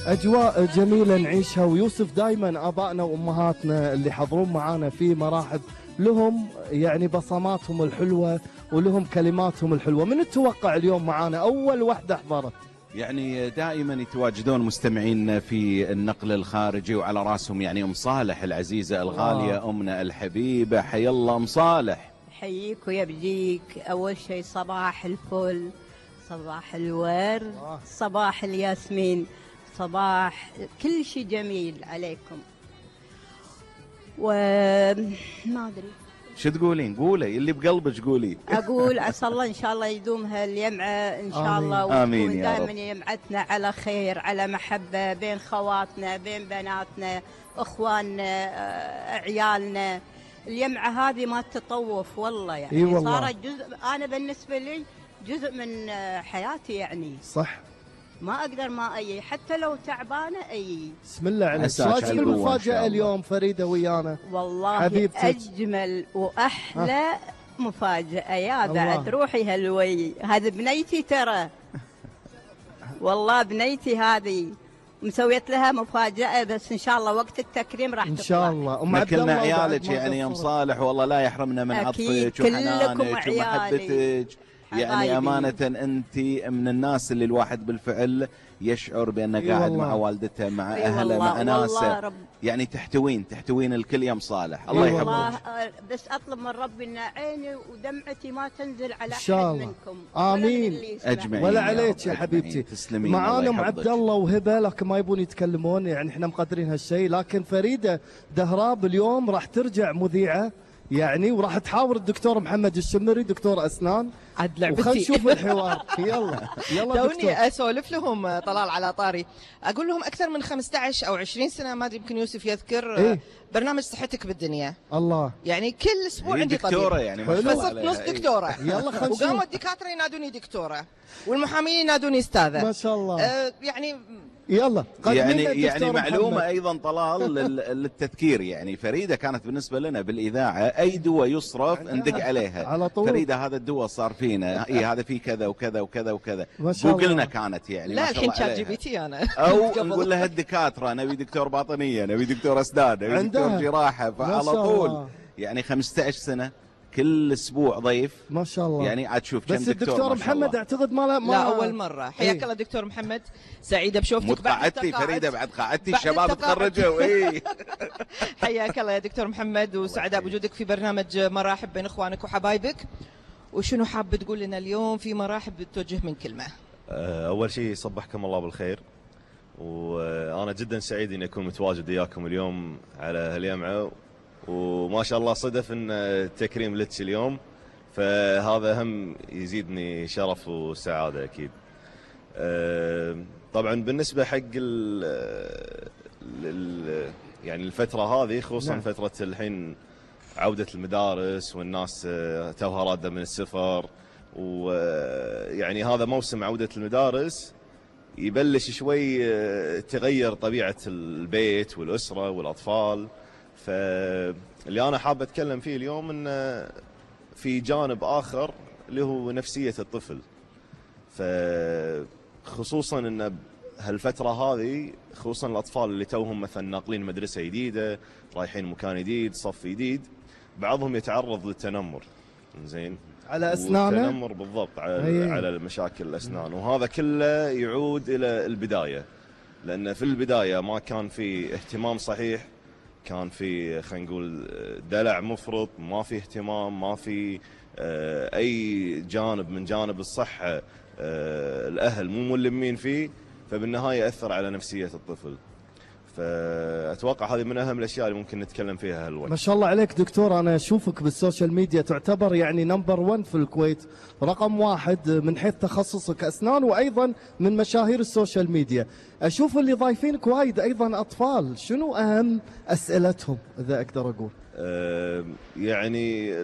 أجواء جميلة نعيشها، ويوسف دايما آبائنا وأمهاتنا اللي حضرون معانا في مراحب لهم يعني بصماتهم الحلوة ولهم كلماتهم الحلوة. من تتوقع اليوم معانا أول وحدة حضرت؟ يعني دائما يتواجدون مستمعين في النقل الخارجي، وعلى راسهم يعني أم صالح العزيزة الغالية، أمنا الحبيبة. حي الله أم صالح. حييك ويبجيك. أول شيء صباح الفل، صباح الورد، صباح الياسمين، صباح كل شيء جميل عليكم. وما أدري شو تقولين؟ قولي اللي بقلبك قولي. أقول عسى الله إن شاء الله يدومها اليمعة إن شاء الله، آمين وتكون يا رب. دائما يمعتنا على خير، على محبة بين خواتنا، بين بناتنا، إخواننا، عيالنا. اليمعة هذه ما تطوف والله، يعني إيه والله. صارت جزء، أنا بالنسبة لي جزء من حياتي يعني. صح. ما أقدر ما أي، حتى لو تعبانة أي. بسم الله عليك. عساك شو على القوة إن المفاجأة شاء الله. اليوم فريدة ويانا؟ والله حبيبتك. أجمل وأحلى مفاجأة يا الله. بعد روحي هالوي. هذه بنيتي ترى، والله بنيتي هذه مسويت لها مفاجأة، بس إن شاء الله وقت التكريم راح إن تطلع. شاء الله. أم ما عبد كلنا الله عيالك وبعد ما يعني يا أم قصرت. صالح، والله لا يحرمنا من أكيد. عطفك كلكم وحنانك عيالي. ومحبتك. يعني حبايبي. أمانة أنت من الناس اللي الواحد بالفعل يشعر بأنه إي قاعد والله. مع والدته، مع إي أهله، والله. مع والله ناسه. رب. يعني تحتوين الكل يا أم صالح. الله إي والله. يحفظك. بس أطلب من ربي إن عيني ودمعتي ما تنزل على إن أحد شاء الله. منكم. آمين. ولا من اللي يسمع. أجمعين. ولا يا عليك رب، يا أجمعين. حبيبتي. تسلمين. معانا الله ام يحفظك. عبد الله وهبه، لكن ما يبون يتكلمون، يعني احنا مقدرين هالشيء. لكن فريده دهراب اليوم راح ترجع مذيعه يعني، وراح تحاور الدكتور محمد الشمري دكتور اسنان. عاد لعبتي. وخل نشوف الحوار. يلا دكتور. توني اسولف لهم طلال على طاري، اقول لهم اكثر من 15 او 20 سنه، ما ادري يمكن يوسف يذكر، إيه؟ برنامج صحتك بالدنيا. الله. يعني كل اسبوع هي عندي دكتورة طبيب. يعني ما حلو. شاء الله فصرت عليها. نص دكتوره. يلا خل نشوف. وقاموا الدكاتره ينادوني دكتوره، والمحامين ينادوني استاذه. ما شاء الله. يعني يلا يعني معلومة أيضا طلال للتذكير. يعني فريدة كانت بالنسبة لنا بالإذاعة أي دواء يصرف ندق عليها على طول. فريدة هذا الدواء صار فينا، إيه هذا فيه كذا وكذا وكذا وكذا. ما شاء الله. جوجلنا كانت يعني لا ما شاء الحين الله شات عليها. جي بي تي انا. أو قبل. نقول لها الدكاترة نبي دكتور باطنية، نبي دكتور أسنان، نبي عندها. دكتور جراحة، ما فعلى شاء طول الله. يعني 15 سنة كل أسبوع ضيف. ما شاء الله. يعني عاد شوف كم بس دكتور الدكتور ما شاء محمد الله. اعتقد لا اول مره. حياك إيه؟ الله دكتور محمد، سعيده بشوفتك. مو بعد قعدتي التقاعد. فريدة بعد قعدتي بعد الشباب التقاعد. تخرجوا. إيه حياك الله يا دكتور محمد، وسعداء بوجودك في برنامج مراحب بين اخوانك وحبايبك. وشنو حاب تقول لنا اليوم في مراحب توجه من كلمه؟ أول شيء صبحكم الله بالخير، وأنا جدا سعيد إني أكون متواجد وياكم اليوم على هاليمعة، وما شاء الله صدف إن تكريم لتش اليوم، فهذا هم يزيدني شرف وسعادة أكيد. طبعا بالنسبة حق يعني الفترة هذه خصوصا نعم. فترة الحين عودة المدارس والناس توها رادة من السفر، ويعني هذا موسم عودة المدارس يبلش شوي تغير طبيعة البيت والأسرة والأطفال. فاللي أنا حاب أتكلم فيه اليوم إنه في جانب آخر اللي هو نفسية الطفل، فخصوصا إن هالفترة هذه خصوصا الأطفال اللي توهم مثلا ناقلين مدرسة جديدة، رايحين مكان جديد، صف جديد، بعضهم يتعرض للتنمر. زين على اسنانه. والتنمر بالضبط على مشاكل الأسنان، وهذا كله يعود إلى البداية، لأن في البداية ما كان في اهتمام صحيح، كان في خلينا نقول دلع مفرط، ما في اهتمام، ما في أي جانب من جانب الصحة الأهل مو ملمين فيه، فبالنهاية أثر على نفسية الطفل. فأتوقع هذه من أهم الأشياء اللي ممكن نتكلم فيها هالوقت. ما شاء الله عليك دكتور، أنا أشوفك بالسوشيال ميديا تعتبر يعني نمبر 1 في الكويت، رقم 1 من حيث تخصصك أسنان، وأيضا من مشاهير السوشيال ميديا. أشوف اللي ضايفينك وايد أيضا أطفال، شنو أهم أسئلتهم إذا أقدر أقول؟ يعني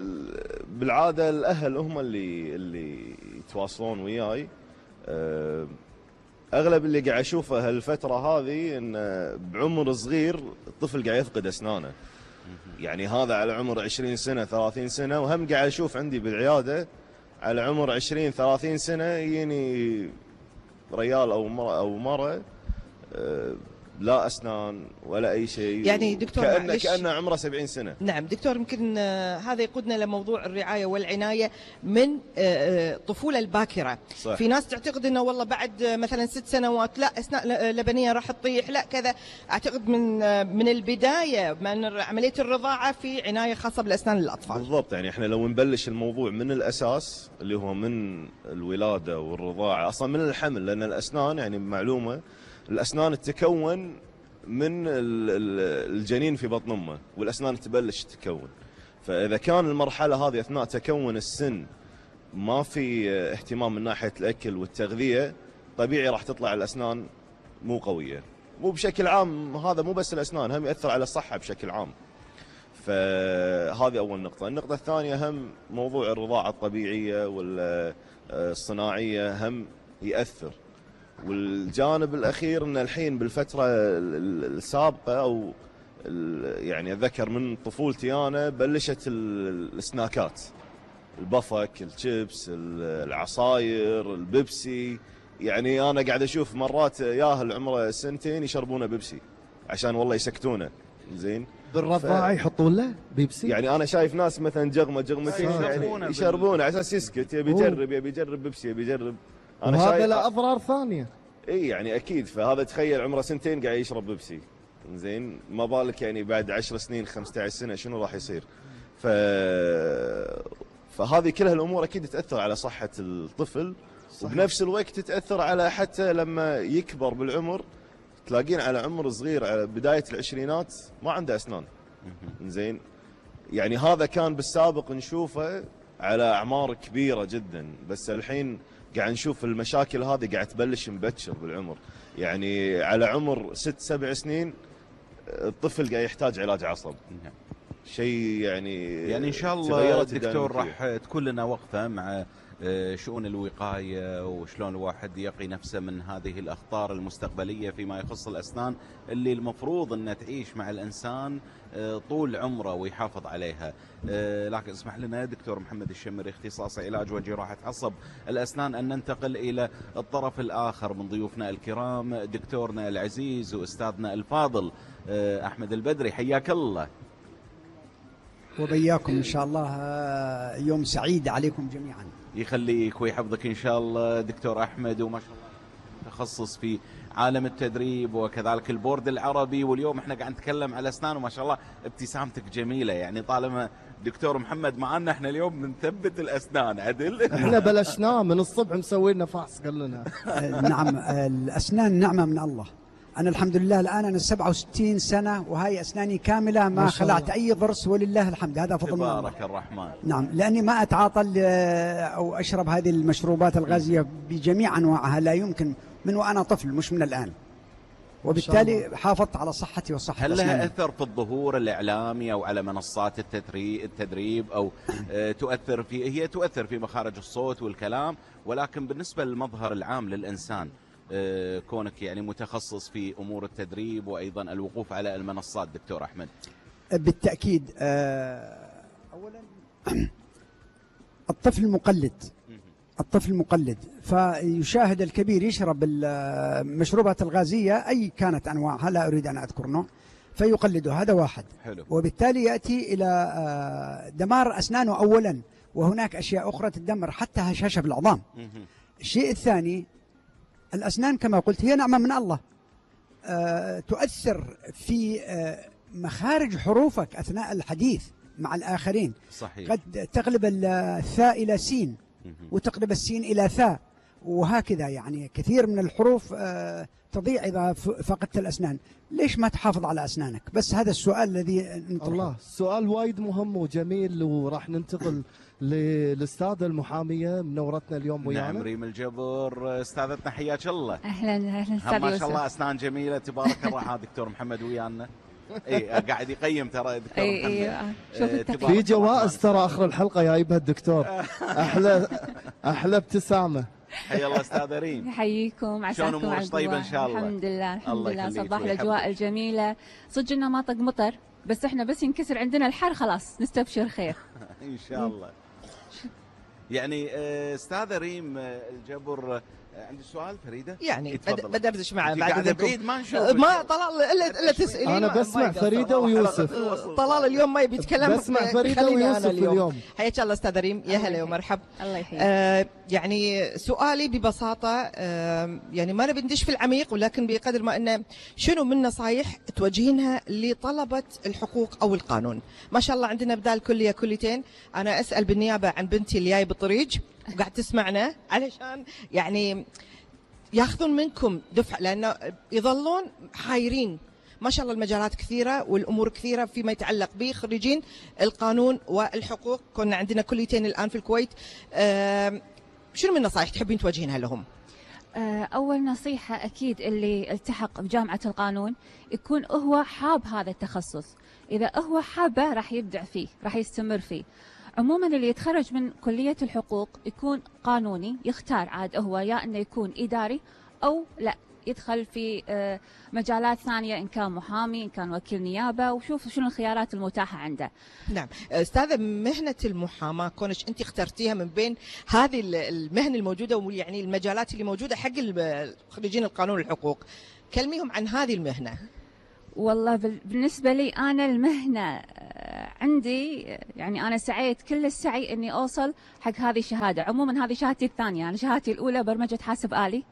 بالعادة الأهل هم اللي يتواصلون وياي. أغلب اللي قاعد أشوفه هالفترة هذه إن بعمر صغير الطفل قاعد يفقد أسنانه، يعني هذا على عمر 20 سنة 30 سنة، وهم قاعد أشوف عندي بالعيادة على عمر 20 30 سنة يجيني ريال أو مرة لا أسنان ولا أي شيء. يعني دكتور كأنه عمره 70 سنة. نعم دكتور، يمكن هذا يقودنا لموضوع الرعاية والعناية من الطفولة الباكرة. صح. في ناس تعتقد أنه والله بعد مثلا 6 سنوات لا أسنان لبنية راح تطيح، لا كذا. أعتقد من البداية من عملية الرضاعة في عناية خاصة بالأسنان للأطفال. بالضبط، يعني احنا لو نبلش الموضوع من الأساس اللي هو من الولادة والرضاعة، أصلا من الحمل، لأن الأسنان يعني معلومة الأسنان تتكون من الجنين في بطن أمه، والأسنان تبلش تتكون. فإذا كان المرحلة هذه أثناء تكون السن ما في اهتمام من ناحية الأكل والتغذية، طبيعي راح تطلع الأسنان مو قوية. مو بشكل عام، هذا مو بس الأسنان، هم يأثر على الصحة بشكل عام. فهذه أول نقطة. النقطة الثانية هم موضوع الرضاعة الطبيعية والصناعية هم يأثر. والجانب الأخير أن الحين بالفترة السابقة أو يعني أتذكر من طفولتي أنا بلشت السناكات، البفك، الشيبس، العصاير، البيبسي. يعني أنا قاعد أشوف مرات ياهل عمره 2 سنين يشربونه بيبسي عشان والله يسكتونه. زين بالرضاعة يحطون له بيبسي. يعني أنا شايف ناس مثلا جغمتين يعني يشربونه على أساس يسكت، يبي يجرب بيبسي، يبي يجرب. وهذا له أضرار ثانية. اي يعني اكيد. فهذا تخيل عمره 2 سنين قاعد يشرب بيبسي، زين ما بالك يعني بعد 10 سنين 15 سنه شنو راح يصير. فهذه كلها الامور اكيد تاثر على صحه الطفل. صحيح. وبنفس الوقت تاثر على حتى لما يكبر بالعمر، تلاقين على عمر صغير على بدايه العشرينات ما عنده اسنان. زين يعني هذا كان بالسابق نشوفه على اعمار كبيره جدا، بس الحين قاعد نشوف المشاكل هذه قاعد تبلش مبكر بالعمر. يعني على عمر 6-7 سنين الطفل قاعد يحتاج علاج عصب. شيء يعني إن شاء الله دكتور راح تكون لنا وقفة مع شؤون الوقاية وشلون الواحد يقي نفسه من هذه الأخطار المستقبلية فيما يخص الأسنان اللي المفروض أن تعيش مع الإنسان طول عمره ويحافظ عليها. لكن اسمح لنا دكتور محمد الشمري، اختصاصي علاج وجراحة عصب الأسنان، أن ننتقل إلى الطرف الآخر من ضيوفنا الكرام، دكتورنا العزيز وأستاذنا الفاضل أحمد البدري. حياك الله. وبياكم إن شاء الله، يوم سعيد عليكم جميعا. يخليك ويحفظك إن شاء الله دكتور أحمد، وما شاء الله متخصص في عالم التدريب وكذلك البورد العربي. واليوم احنا قاعد نتكلم على أسنان، وما شاء الله ابتسامتك جميلة. يعني طالما دكتور محمد معنا احنا اليوم بنثبت الأسنان عدل. احنا بلشناه من الصبح مسوي لنا فحص قال لنا. نعم الأسنان نعمة من الله. أنا الحمد لله الآن أنا 67 سنة وهاي أسناني كاملة، ما خلعت أي ضرس ولله الحمد، هذا فضل الله. تبارك الرحمن. نعم، لأني ما أتعاطى أو أشرب هذه المشروبات الغازية بجميع أنواعها، لا يمكن، من وأنا طفل مش من الآن، وبالتالي حافظت على صحتي وصحة هل أسناني. لها أثر في الظهور الإعلامي أو على منصات التدريب أو تؤثر في مخارج الصوت والكلام، ولكن بالنسبة للمظهر العام للإنسان كونك يعني متخصص في أمور التدريب وأيضا الوقوف على المنصات دكتور أحمد؟ بالتأكيد. أولا الطفل مقلد، فيشاهد الكبير يشرب المشروبات الغازية أي كانت أنواعها، لا أريد أن أذكر نوع، فيقلده. هذا واحد. حلو. وبالتالي يأتي إلى دمار أسنانه أولا، وهناك أشياء أخرى تدمر حتى هشاشة بالعظام. الشيء الثاني، الأسنان كما قلت هي نعمة من الله، تؤثر في مخارج حروفك أثناء الحديث مع الآخرين. صحيح. قد تقلب الثاء إلى سين وتقلب السين إلى ثاء، وهكذا يعني كثير من الحروف تضيع إذا فقدت الأسنان. ليش ما تحافظ على أسنانك؟ بس هذا السؤال الذي نطرحه. الله، سؤال وايد مهم وجميل، وراح ننتقل للأستاذة المحامية منورتنا اليوم ويانا. نعم، ريم الجبر استاذتنا، حياك الله. اهلا استاذ ما شاء الله اسنان جميله تبارك الرحمن. دكتور محمد ويانا قاعد يقيم ترى دكتور محمد. في جوائز ترى اخر الحلقه جايبها الدكتور. احلى ابتسامه. حيا الله استاذه ريم. يحييكم، عساكم على طيبه ان شاء الله. الحمد لله صباح الاجواء الجميله. صدق انه ما طق مطر، بس احنا بس ينكسر عندنا الحر خلاص نستبشر خير ان شاء الله. يعني استاذه ريم الجبر، عندي سؤال فريدة يعني بدردش معه بعد بعيد ما نشوف ما طلال الا تسالين. انا بسمع فريدة ويوسف. طلال اليوم ما يبي يتكلم، بسمع فريدة ويوسف اليوم. حياك الله استاذ ريم، يا هلا ومرحب. الله يحييك. يعني سؤالي ببساطه يعني ما نبي ندش في العميق، ولكن بقدر ما انه شنو من نصايح توجهينها لطلبه الحقوق او القانون؟ ما شاء الله عندنا بدال كليه كليتين. انا اسال بالنيابه عن بنتي اللي جاي بالطريق وقاعد تسمعنا، علشان يعني ياخذون منكم دفعه، لانه يظلون حايرين. ما شاء الله المجالات كثيره والامور كثيره فيما يتعلق بخريجين القانون والحقوق. كنا عندنا كليتين الان في الكويت. شنو من النصائح تحبين توجهينها لهم؟ أول نصيحة أكيد اللي التحق بجامعة القانون يكون هو حاب هذا التخصص. إذا هو حابه راح يبدع فيه، راح يستمر فيه. عموما اللي يتخرج من كلية الحقوق يكون قانوني، يختار عاد هو يا أنه يكون إداري أو لا يدخل في مجالات ثانية، إن كان محامي، إن كان وكيل نيابة، وشوف شنو الخيارات المتاحة عنده. نعم أستاذة، مهنة المحاماة كونش أنت اخترتيها من بين هذه المهن الموجودة ويعني المجالات اللي موجودة حق خريجين القانون والحقوق، كلميهم عن هذه المهنة. والله بالنسبة لي أنا المهنة عندي يعني أنا سعيت كل السعي إني أوصل حق هذه الشهادة. عموما هذه شهادتي الثانية، أنا شهادتي الأولى برمجة حاسب آلي،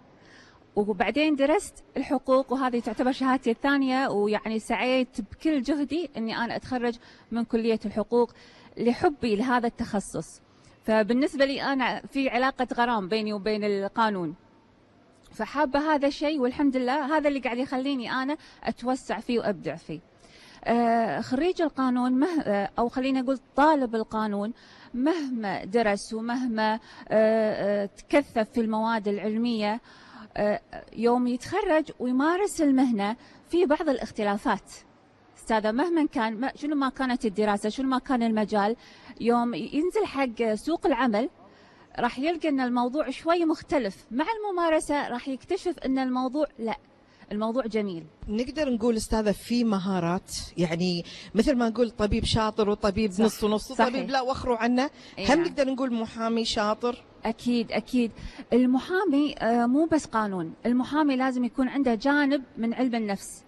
وبعدين درست الحقوق، وهذه تعتبر شهادتي الثانية. ويعني سعيت بكل جهدي إني أنا أتخرج من كلية الحقوق لحبي لهذا التخصص. فبالنسبة لي أنا في علاقة غرام بيني وبين القانون، فحابة هذا الشيء، والحمد لله هذا اللي قاعد يخليني أنا أتوسع فيه وأبدع فيه. خريج القانون أو خلينا نقول طالب القانون مهما درس ومهما تكثف في المواد العلمية، يوم يتخرج ويمارس المهنة في بعض الاختلافات. أستاذة مهما كان شنو ما كانت الدراسة، شنو ما كان المجال، يوم ينزل حق سوق العمل راح يلقى أن الموضوع شوي مختلف. مع الممارسة راح يكتشف أن الموضوع لا، الموضوع جميل. نقدر نقول أستاذة في مهارات، يعني مثل ما نقول طبيب شاطر وطبيب صح. نص ونص، طبيب لا وخروا عنه. هم نقدر نقول محامي شاطر. أكيد أكيد. المحامي مو بس قانون، المحامي لازم يكون عنده جانب من علم النفس،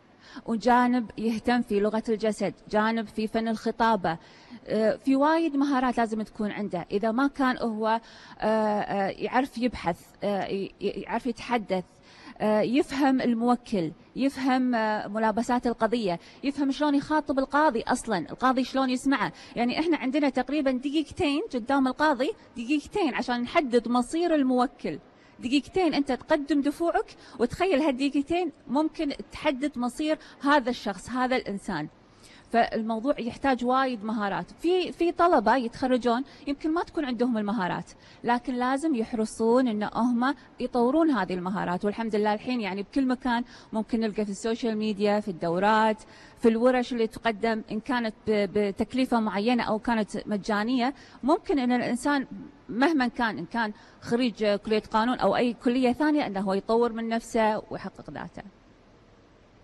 وجانب يهتم في لغة الجسد، جانب في فن الخطابة. في وايد مهارات لازم تكون عنده. إذا ما كان هو يعرف يبحث، يعرف يتحدث، يفهم الموكل، يفهم ملابسات القضية، يفهم شلون يخاطب القاضي، أصلا القاضي شلون يسمعه. يعني إحنا عندنا تقريبا دقيقتين قدام القاضي، دقيقتين عشان نحدد مصير الموكل. دقيقتين أنت تقدم دفوعك، وتخيل هالدقيقتين ممكن تحدد مصير هذا الشخص، هذا الإنسان. فالموضوع يحتاج وايد مهارات. في طلبة يتخرجون يمكن ما تكون عندهم المهارات، لكن لازم يحرصون ان هم يطورون هذه المهارات. والحمد لله الحين يعني بكل مكان ممكن نلقى في السوشيال ميديا، في الدورات، في الورش اللي تقدم، ان كانت بتكلفة معينة او كانت مجانية. ممكن ان الانسان مهما كان، ان كان خريج كلية قانون او اي كلية ثانية، انه هو يطور من نفسه ويحقق ذاته.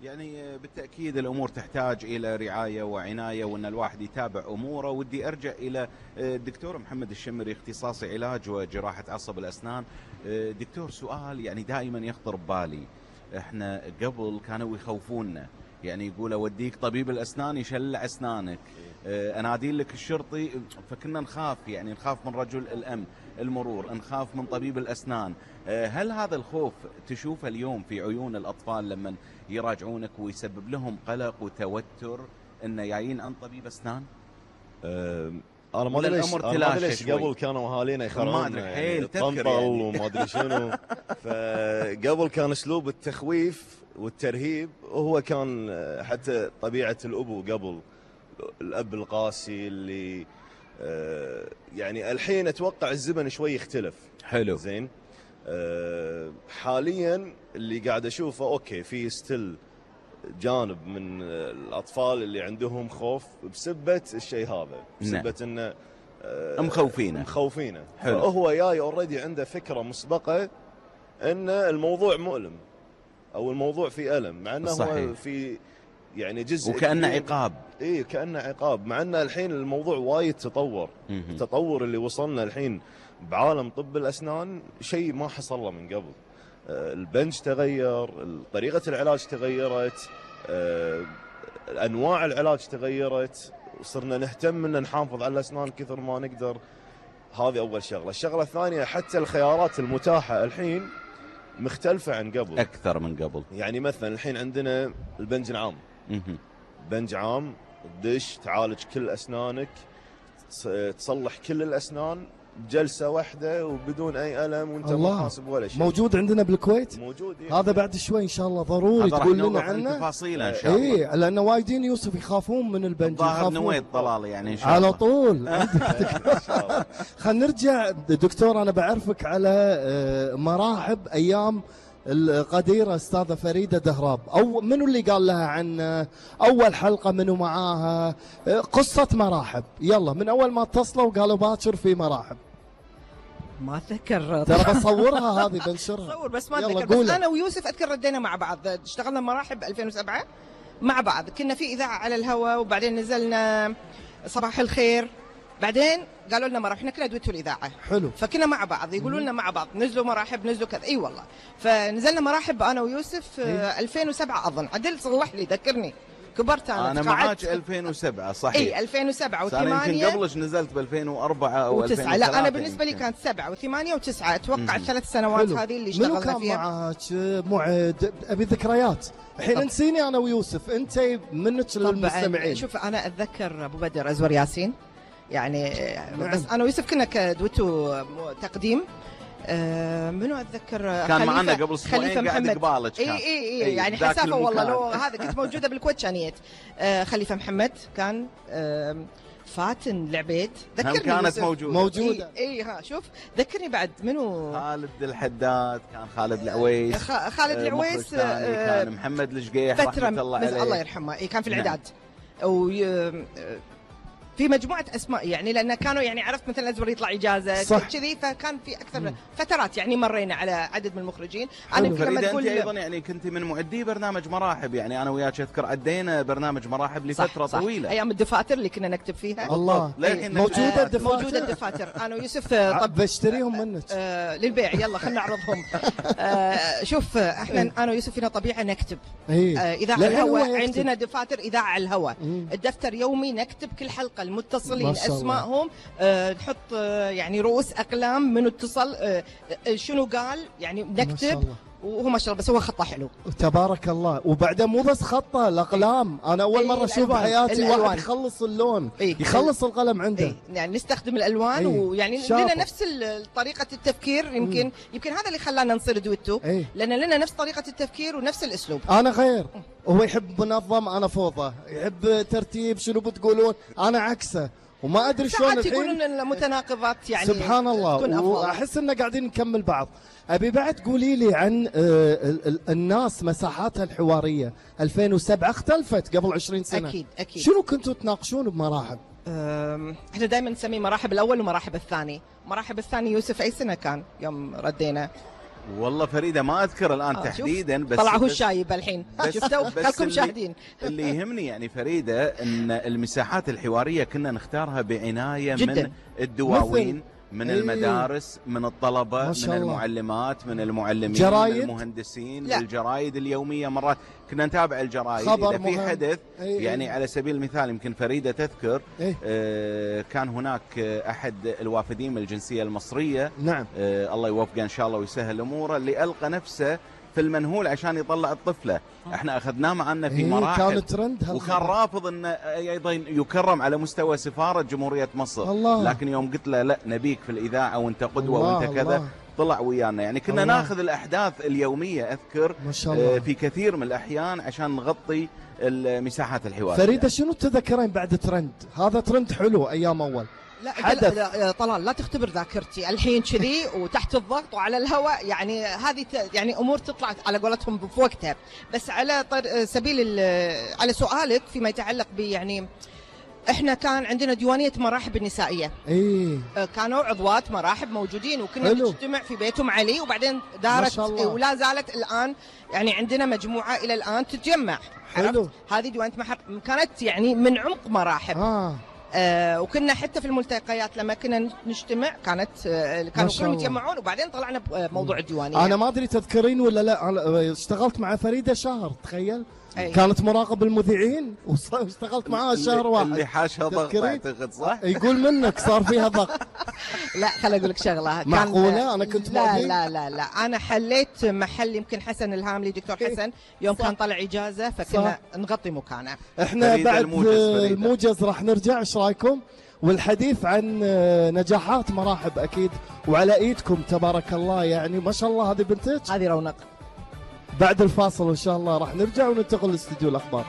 يعني بالتأكيد الأمور تحتاج إلى رعاية وعناية، وأن الواحد يتابع أموره. ودي أرجع إلى الدكتور محمد الشمري، اختصاصي علاج وجراحة عصب الأسنان. دكتور، سؤال يعني دائما يخطر ببالي. احنا قبل كانوا يخوفونا، يعني يقول أوديك طبيب الأسنان يشلع أسنانك، أنادي لك الشرطي، فكنا نخاف، يعني نخاف من رجل الأمن، المرور، نخاف من طبيب الأسنان. هل هذا الخوف تشوفه اليوم في عيون الأطفال لما يراجعونك ويسبب لهم قلق وتوتر إنه جايين عن طبيب أسنان؟ أنا ما أدري ليش قبل كانوا أهالينا يخرون طنطل وما أدري شنو. فقبل كان أسلوب التخويف والترهيب، وهو كان حتى طبيعة الأبو قبل، الأب القاسي اللي يعني الحين أتوقع الزمن شوي يختلف. حلو. زين. حاليا اللي قاعد أشوفه أوكي، في ستيل جانب من الأطفال اللي عندهم خوف بسبة الشيء هذا، بسبة إنه مخوفينه. فهو جاي أوريدي عنده فكرة مسبقة إن الموضوع مؤلم أو الموضوع فيه ألم، مع إنه هو في يعني جزء وكأنه عقاب. إيه كأنه عقاب، مع إنه الحين الموضوع وايد تطور. التطور اللي وصلنا الحين بعالم طب الأسنان شيء ما حصل له من قبل. البنج تغير، طريقة العلاج تغيرت، أنواع العلاج تغيرت، وصرنا نهتم ان نحافظ على الأسنان كثر ما نقدر. هذه أول شغلة. الشغلة الثانية حتى الخيارات المتاحة الحين مختلفة عن قبل، أكثر من قبل. يعني مثلا الحين عندنا البنج العام، بنج عام تدش تعالج كل أسنانك، تصلح كل الأسنان بجلسة واحدة وبدون أي ألم وأنت ما حاسب ولا شيء. موجود عندنا بالكويت؟ موجود. هذا بعد شوي إن شاء الله ضروري تقول لنا عنه تفاصيله إن شاء الله. إيه، لأن وايدين يوسف يخافون من البنج، ظاهر نويت طلال يعني إن شاء الله على طول. خلينا نرجع دكتور، أنا بعرفك على مراحب أيام القديرة أستاذة فريدة دهراب، أو منو اللي قال لها عن أول حلقة منو معاها؟ قصة مراحب، يلا من أول ما اتصلوا وقالوا باكر في مراحب. ما أتذكر ترى بصورها هذه بنشرها. صور بس ما أتذكر. بس أنا ويوسف أذكر ردينا مع بعض، اشتغلنا مراحب 2007 مع بعض، كنا في إذاعة على الهواء وبعدين نزلنا صباح الخير، بعدين قالوا لنا مراحب، احنا كنا دويتو الإذاعة. حلو. فكنا مع بعض يقولوا لنا مع بعض نزلوا مراحب نزلوا كذا. اي والله. فنزلنا مراحب انا ويوسف 2007 اظن. عدل صلح لي ذكرني. كبرت انا معاك 2007 صحيح. اي 2007 و8. انا يمكن قبلش نزلت ب 2004 او 2003. لا انا بالنسبه لي كانت 7 و8 و9 اتوقع الثلاث سنوات هذه اللي اشتغلنا فيها. منو كان معاك معد؟ ابي ذكريات. الحين نسيني انا ويوسف، انت منك للمستمعين. شوف انا اتذكر ابو بدر ازور ياسين يعني بس انا ويوسف كنا كدويتو تقديم. منو اتذكر كان معنا قبل اسبوعين قاعد قبالك. اي يعني حسافه والله لو هذا كنت موجوده بالكويت كانيت. خليفه محمد كان فاتن العبيد ذكرني كانت موجوده. اي ها شوف ذكرني بعد منو. خالد الحداد كان، خالد العويس. خالد العويس كان محمد الشقيح رحمه الله عليه الله يرحمه. كان في العداد في مجموعة أسماء يعني، لأن كانوا يعني عرفت مثلا أزور يطلع إجازة كذي، فكان في أكثر فترات يعني مرينا على عدد من المخرجين. أنا لما تقول أنت أيضا يعني كنت من معدي برنامج مراحب، يعني أنا وياك أذكر عدينا برنامج مراحب لفترة صح طويلة. أيام الدفاتر اللي كنا نكتب فيها. الله موجودة الدفاتر. موجودة الدفاتر. أنا ويوسف طب بشتريهم منك للبيع، يلا خلنا نعرضهم. شوف احنا أنا ويوسف فينا طبيعة نكتب إذاعة على الهواء، عندنا دفاتر إذاعة على الهواء، الدفتر يومي نكتب كل حلقة المتصلين اسمائهم، نحط يعني رؤوس اقلام من اتصل شنو قال يعني نكتب، وهو ما شاء الله بس هو خطه حلو تبارك الله. وبعدين مو بس خطه، الاقلام انا اول مره اشوف بحياتي واحد يخلص اللون يخلص القلم عنده. يعني نستخدم الالوان ويعني لنا نفس طريقه التفكير. يمكن هذا اللي خلانا نصير دويتو، لان لنا نفس طريقه التفكير ونفس الاسلوب. انا غير، هو يحب منظم انا فوضى، يحب ترتيب شنو بتقولون انا عكسه، وما ادري شلون الحين يقولون المتناقضات يعني سبحان الله، واحس ان قاعدين نكمل بعض. ابي بعد قولي لي عن الناس مساحاتها الحواريه 2007 اختلفت قبل 20 سنه. اكيد. شنو كنتوا تناقشون بمراحب؟ احنا دائما نسميه مراحب الاول ومراحب الثاني. مراحب الثاني يوسف اي سنه كان يوم ردينا؟ والله فريدة ما أذكر الآن تحديدا، بس طلع هو الشايب الحين شفتوا خلكم شاهدين. اللي يهمني يعني فريدة أن المساحات الحوارية كنا نختارها بعناية جداً. من الدواوين، من المدارس، من الطلبة، من المعلمات، من المعلمين، جرايد. من المهندسين، الجرايد اليومية. مرات كنا نتابع الجرايد إذا في حدث يعني على سبيل المثال يمكن فريدة تذكر كان هناك أحد الوافدين من الجنسية المصرية، نعم الله يوفقه إن شاء الله ويسهل أموره، اللي ألقى نفسه في المنهول عشان يطلع الطفلة. احنا اخذناه معنا في مراحل، كان ترند وكان رافض انه ايضا يكرم على مستوى سفارة جمهورية مصر. لكن يوم قلت له لا نبيك في الإذاعة وانت قدوة وانت كذا، طلع ويانا. يعني كنا ناخذ الأحداث اليومية أذكر ما شاء الله في كثير من الأحيان عشان نغطي المساحات الحوارية. فريدة شنو تذكرين بعد ترند؟ هذا ترند حلو أيام أول. لا طلال لا تختبر ذاكرتي الحين كذي وتحت الضغط وعلى الهواء، يعني هذه يعني امور تطلع على قولتهم في وقتها. بس على سبيل على سؤالك فيما يتعلق ب يعني احنا كان عندنا ديوانيه مراحب النسائيه. كانوا عضوات مراحب موجودين وكنا نجتمع في بيتهم علي، وبعدين دارت ولا زالت الان يعني عندنا مجموعه الى الان تتجمع. حلو. هذه ديوانيه كانت يعني من عمق مراحب. وكنا حتى في الملتقيات لما كنا نجتمع كانوا كلهم يتجمعون، وبعدين طلعنا بموضوع الديوانيه. انا ما ادري تذكرين ولا لا، أنا اشتغلت مع فريده شهر، تخيل. أي. كانت مراقب المذيعين واشتغلت معاها شهر واحد. اللي حاشها ضغط اعتقد، صح؟ يقول منك صار فيها ضغط. لا خل اقول لك شغله. معقوله انا كنت لا انا حليت محل يمكن حسن الهاملي، دكتور حسن، يوم كان طلع اجازه فكنا نغطي مكانه. احنا بعد الموجز راح نرجع، ايش رايكم؟ والحديث عن نجاحات مراحب اكيد، وعلى ايدكم تبارك الله، يعني ما شاء الله. هذه بنتك، هذه رونق. بعد الفاصل ان شاء الله راح نرجع وننتقل لاستديو الاخبار.